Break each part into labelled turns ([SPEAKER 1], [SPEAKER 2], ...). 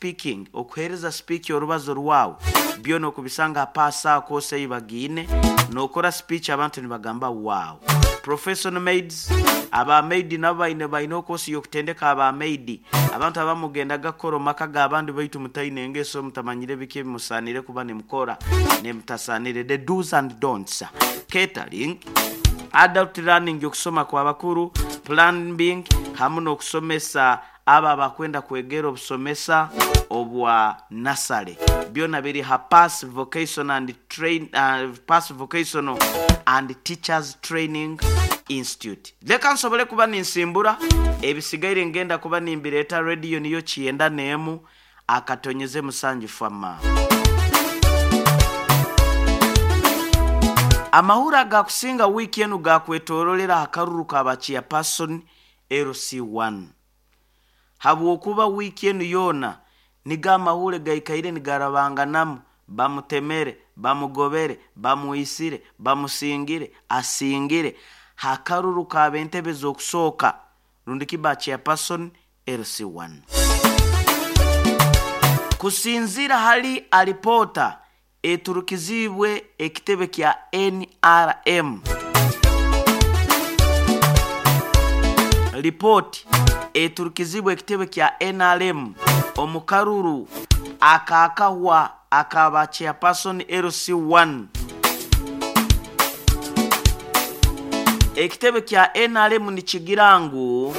[SPEAKER 1] Speaking, okuheereza speech, orubazo rwawe, byona okubisanga ha Pass course ei bagiine. Nokora speech, abantu nibagamba, "Wow." Professional maids, aba maid nabo baine course y'okutendeka aba maid. Abantu abamugendaga kukora omu maka g'abandi, baitu mutaine engeso, mutamanyire biki ebimusaanire kuba nimukora nemutasaanire, the do's and don'ts. Catering, adult learning, okusoma kw'abakuru, plumbing, hamu n'okusomesa abo abakwenda kwegera obusomesa obwa nursery, byona biri ha Pass Vocational and Train, Pass Vocational and Teachers Training Institute. Leka nsobole kuba ninsimbura, ebisigaire ngenda kuba nimbireeta. Radio niyo 91.7 fama. Amahuri agakusinga wiiki enu gakwetorolera aha karuru ka chairperson LC1, habwokuba wiiki enu yoona nigo amahuri gaikaire nigarabanganamu: bamutemere, bamugobere, bamwisire, bamusingire, asingire hakaruru k'ab'entebe z'okusooka rundi kiba chairperson LC1. Kusinzira hali alipoota eturukizibwe ekitebe kya NRM, ripooti eturukizibwe ekitebe kya NRM omu karuru akakahwa akaba chairperson LC1, ekitebe kya NRM nikigira ngu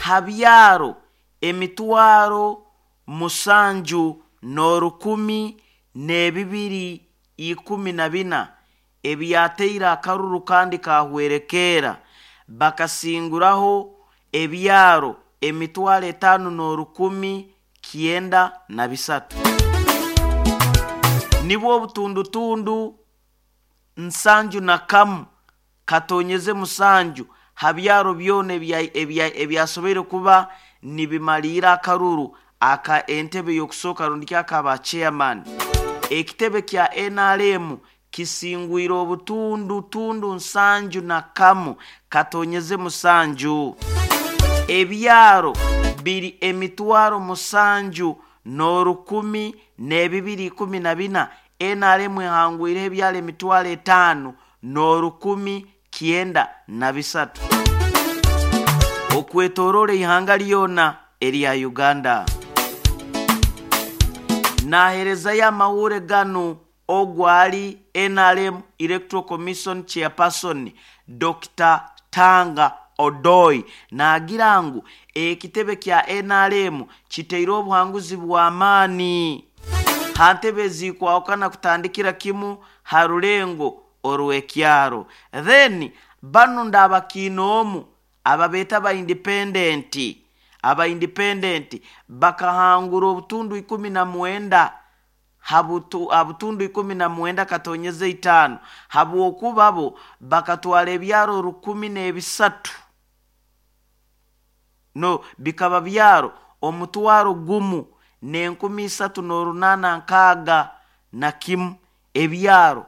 [SPEAKER 1] ha byaro 7,114 ebyateire akaruru kandi kahwerekeera, bakasinguraho ebyaro 5,093, nibwo obutundutundu 71.7 ha byaro byona ebyasoboire kuba nibimaliira akaruru aka entebe y'okusooka rundi akaba chairman. Ekitebe kya NRM kisingwire obutundu tundu 71.7. Ebyaro biri 7,01214, NRM ehangwireho ebyaro 5,093 okwetoroora ihanga lyona erya Uganda. Naherezayo amawure ganu ogwali NRM Electoral Commission chairperson Dr Tanga Odoi, nagira ngu ekitebe kya NRM kiteire obuhanguzi bw'amaani ha ntebe ezikwahukana kutandikira kimu ha rulengo orw'ekyaro. Then banu ndabakiinoomu ababeeta ba independent. Aba independent bakahangura obutundu 19 ha butundu 19.5, habwokuba bo bakatwara ebyaro 1,003, no bikaba byaro 1,361. Ebyaro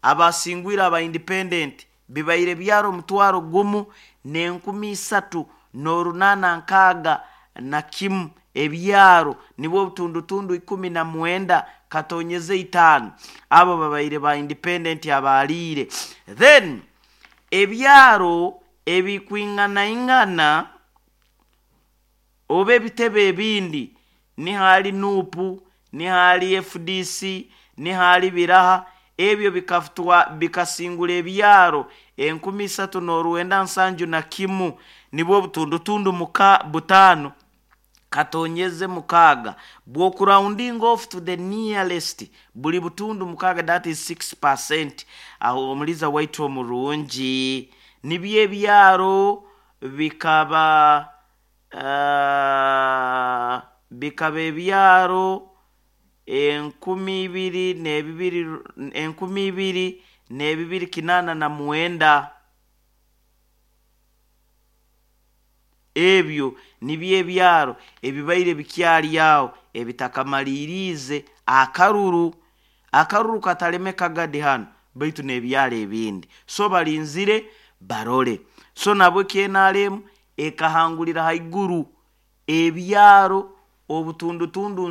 [SPEAKER 1] abasingwire aba independent bibaire byaro 1,361 ebyaro, nibwo obutundutundu 19.5. Abo babaire ba independent abaliire. Then ebyaro ebikwinganaingana oba ebitebe ebindi, nihali NUP, nihali FDC, nihali biraha, ebyo bikafutwa bikasingura ebyaro 3,971, nibwo obutundutundu muka 5.6, bwoku rounding off to the nearest buli butundu mukaaga, that is 6%. Aho omuliza waitu omurungi, nibyo ebyaro bikaba ebyaro 2,002, 2,289. Ebyo nibyo ebyaro ebibaire bikyali aho ebitakamaliriize akaruru. Akaruru kataleme kagadi hano, baitu n'ebyaro ebindi so balinzire barole. So nabwo KNRM ekahangulira haiguru ebyaro obutundutundu.